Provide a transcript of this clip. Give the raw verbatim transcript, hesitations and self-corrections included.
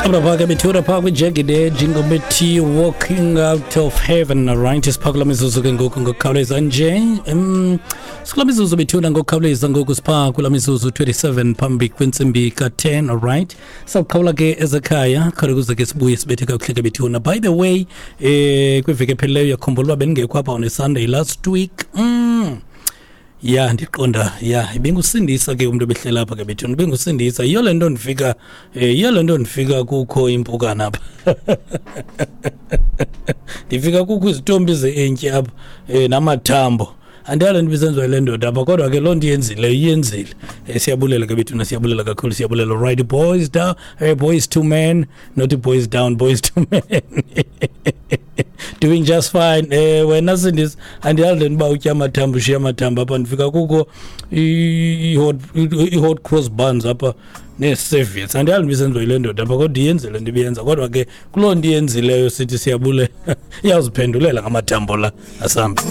Apha ke bethura phaa kwi-Jagged Edge, ingoma ethi "Walking Out of Heaven". Right, siphaa kula mizuzu ke ngoku ngokukhawuleza nje. um sikula mizuzu bethuna ngokukhawuleza ngoku, siphaa kula mizuzu twenty-seven phambi kwentsimbi ka-ten. Alright, sawuqhawula ke ezekhaya khona kuze ke sibuye sibethe kakuhle ke bethuna. By the way, eh kwiveki ephelileyo yakhumbula uba bendingekho apha on a Sunday last week. mm. Ya, ndiqonda ya ibingusindisa ke umntu ebehlela apha ke bethuna, ibingusindisa. Yiyo le nto ndifika, eh yiyo le nto ndifika kukho impukane apha, ndifika kukho izitombi ze-entyi apha um namathambo. Andiyazi le nto ibisenziwa yile ndoda apha, kodwa ke loo nto iyenzile, iyenzile. um siyabulela ke bethuna, siyabulela kakhulu, siyabulela. Right, boys down, uh, Boyz two Men, not Boys Down, Boyz two Men, "Doing Just Fine". eh wena Sindisi, andiyazi le nto uba utya amathambo, ushiya amathambo apha. Ndifika kukho i-hot i-hot cross buns apha nee-serviettes. Andiyazi nto ibisenziwa yile ndoda apha, kodwa iyenzile nto ibiyenza. Kodwa ke kuloo nto iyenzileyo sithi siyabulela, iyawuziphendulela ngamathambo la. Asambe.